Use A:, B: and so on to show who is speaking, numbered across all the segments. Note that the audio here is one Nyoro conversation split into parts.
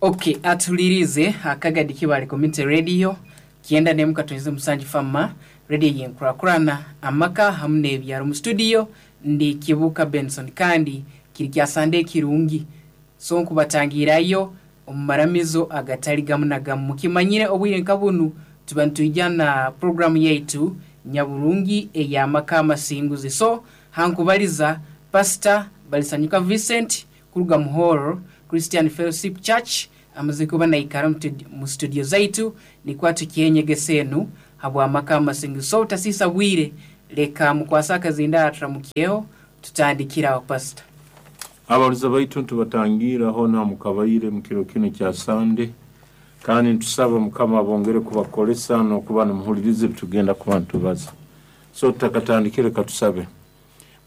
A: Okay, atulirize akagadi Kibale Community Radio 91.7 Fama radio yenkurakurana amaka hamu n'ebyaro. Mu studio ndi Kibuka Benson, kandi kiri kya Sande kirungi, so nkubatangirayo omu maramizo agatali gamu na gamu. Mukimanyire obwire nka bunu tuba nitwija na programu yaitu nyaburungi ey'amaka amasinguzi. So hankubaliza Pastor Balisanyuka Vincent kuruga Muhoro Christian Fellowship Church, amaze kuba naikara mu studio zaitu nikwo tukyenyegesa enu habw'amaka amasinguzi. So utasiisa bwire, leka mukwase akazinda turamukyeho, tutandikiraho Pastor.
B: Abaruza baitu ntubatangira hona mukabaire mu kiro kino kya Sande, kandi ntusaba Mukama abongere kubakolesa n'okuba nimuhuliriza ebitugenda kuba nitubaza. So tutakatandikire, katusabe.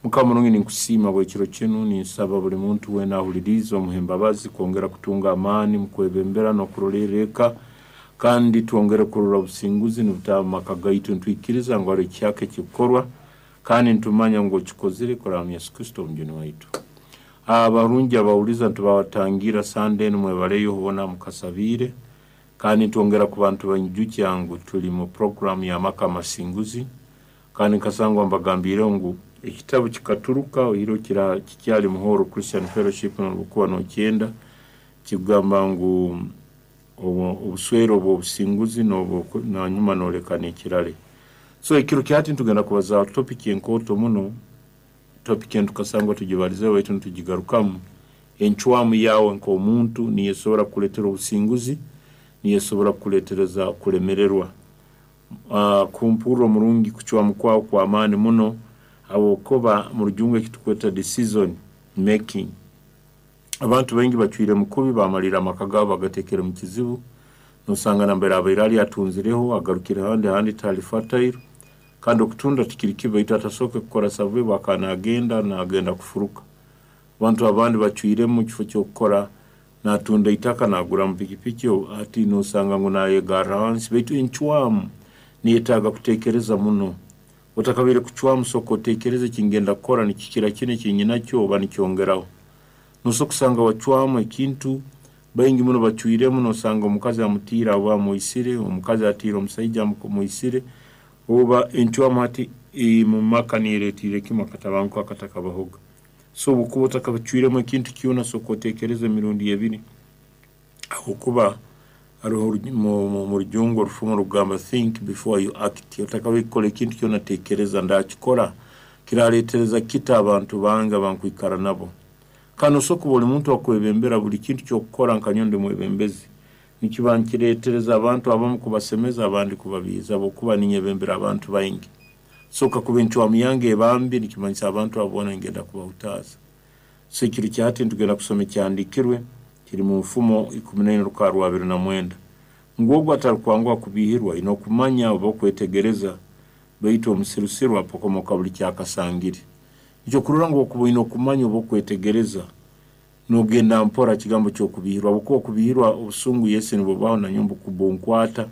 B: Mukama murungi, ninkusiima bw'ekiro kinu, ninsaba buli muntu weena ahuliriize omuhe embabazi kwongera kutunga amaani mu kwebembera n'okurolerra eka, kandi twongere kurora obusinguzi nibutaaha mu maka gaitu. Nitwikiriza ngu hariho ekihyaka ekikukorwa, kandi nitumanya ngu okikozire kuraba mu Yesu Kristo Omujuni waitu. Abarungi abawuliza nitubatangira Sande enu, mwebaleyo bona mukasabiire, kandi nitwongera kuba nitubanyijukya ngu tuli mu programu y'amaka amasinguzi, kandi nkasangwa mbagambiireho ngu ekitabu kikaturuka oiro kikyali Muhoro Christian Fellowship, nobukuba nokyenda, kikugamba ngu obuswere obw'obusinguzi nanyuma noleka n'ekirale. So ekiro kyati nitugenda kubaza topic enkooto muno, topic enu tukasangwa tugibalizeho baitu nitugigarukamu. Encwamu yawe nk'omuntu niyo esobora kukuleetera obusinguzi, niyo esobora kukuleetereza kulemererwa. Kumpurra omurungi, kucwamu kwawe kw'amaani muno, habwokuba mu Rujungu eki tukweta decision making. Abantu baingi bacwiremu kubi, bamalirra amaka gaabo bagateekere mu kizibu. Nosanga nambere abaire ali atunzireho, agarukire handi, handi tihali fertile, kandi okutunda tikiri kibi, baitu atasooke kukora survey bwakaba nagenda kufuruka. Abantu abandi bacwiremu, mu kifo ky'okukora natunda itaka naguramu pikipiki, hati nosanga ngu nayegarra hansi. Baitu encwamu niyetaaga kuteekereza muno. Otakabaire kucwamu, sooka oteekereze, ekingenda kukora nikikira kinu ekinyinakyo oba nikyongeraho? Nosobora kusanga wacwamu ekintu, baingi muno bacwiremu, nosanga omukazi amutiire oba amwisire, omukazi atiire omusaija amwisire, oba encwamu hati mu maka niyeretiire kimu akatabanguko akatakabahoga. So obu okuba otakacwiremu ekintu kyona, sooka oteekereze emirundi ebiri, habwokuba haroho mu Rujungu orufumo rugamba, "Think before you act." Otakabaire kukora ekintu kyona, teekereza, ndakikora kiraleetereza kita abantu bange abankwikara nabo? Kandi nosobora kuba oli muntu akwebembera, buli kintu kyokukora, nka nyowe ndi mwebembezi, nikiba nikireetereza abantu abamu kubasemeza, abandi kubabiiza, habwokuba ninyebembera abantu baingi. So kakuba encwamu yange eba mbi, nikimanyisa abantu abo boona ningenda kubahutaaza. So ekiro kya hati nitugenda kusoma ekyahandiikirwe kiri mu Nfumo 14 rukara rwa 29, ngu ogu atarukwanguha kubiihirwa aine okumanya oba okwetegereza, baitu omusirusiru apokomoka buli kyakasangire. Nikyo kurora ngu okuba oine okumanya oba okwetegereza, nogenda mpora kigambo ky'okubihirwa, habwokuba okubihirwa obusungu yesi nibubaho, nanyowe mbunkwata.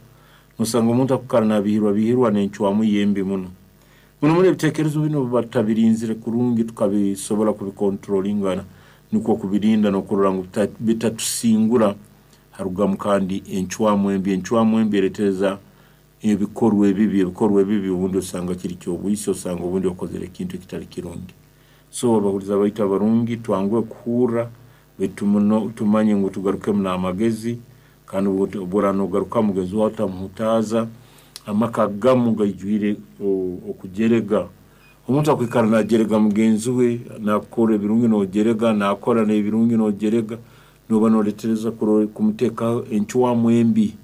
B: Nosanga omuntu akukara nabihirwa bihirwa n'encwamu ye embi muno muno muno. Ebiteekerezo binu obuba tutabirinzire kurungi, tukabisobora kubikontrolingana, nikwo kubirinda n'okurora ngu bitatusingura, harugamu kandi encwamu embi. Encwamu embi eretereza ebikorwa ebibi. Ebikorwa ebibi obundi osanga kiri ky'obwisi, osanga obundi okozere ekintu ekitali kirungi. So abahuliza baitu abarungi, twanguhe kuhurra, baitu muno tumanye ngu tugarukemu n'amagezi, kandi obworaba nogarukamu mugenzi wawe otamuhutaaza. Amaka gamu gaijwire okujerega. Omuntu akwikara najerega mugenzi we, nakukora ebirungi nojerega, nakora n'ebirungi nojerega, noba noletereza kumuteekaho encwamu embi.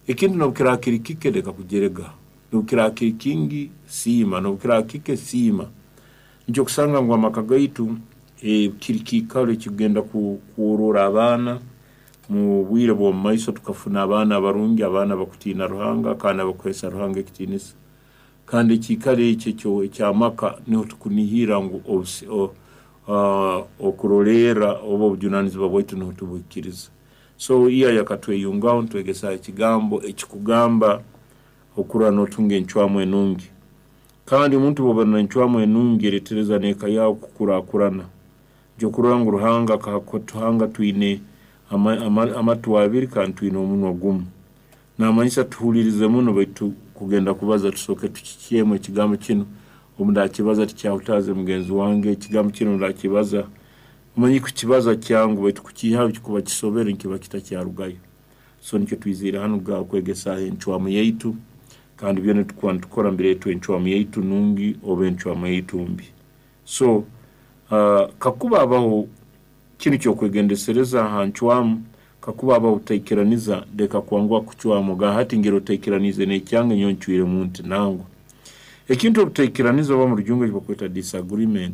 B: Ekintu nobu kiraba kiri kike, leka kujerega. Nobu kiraba kiri kingi, siima. Nobu kiraba kike, siima. Nikyo kusanga ngu amaka gaitu kiri kiikaro ekikugenda kworora abaana mu bwire bw'omu maiso, tukafuna abaana abarungi, abaana abakutiina Ruhanga kandi abakuheesa Ruhanga ekitiinisa. Kandi ekiikaro eki eky'amaka niho tukunihirra ngu okurolerra oba obujunanizibwa bwaitu niho tubuhikiriza. So iya yakatweyungaho, nitwegesa ekigambo ekikugamba okurora notunga encwamu enungi. Kandi omuntu bwoba n'encwamu enungi, eretereza n'eka yawe kukurakurana. Nikyo kurora ngu Ruhanga akatuhanga twine Amatu abiri kandi twine omunwa gumu. Namanyisa tuhulirize muno, baitu kugenda kubaza tusooke tukikyemu ekigambo kinu. Obu ndakibaza tikyahutaaze mugenzi wange, ekigambo kinu ndakibaza. Omanyi kukibaza kyangu, baitu kukiihaho kikuba kisobere nikiba kitakyarugayo. So nikyo twiziire hanu kwegesaaho encwamu yaitu, kandi byona tukuba nitukora nibireetwa encwamu yaitu nungi oba encwamu yaitu mbi. So kakuba habaho kinu ky'okwegendesereza ha ncwamu, kakuba habaho obutaikiraniza, leka kwanguha kucwamu, ogamba hati ngira otaikiraniize n'ekyange, nyowe ncwiremu nti nangwa. Ekintu obutaikiraniza oba mu Rujungu eki bakweta disagreement.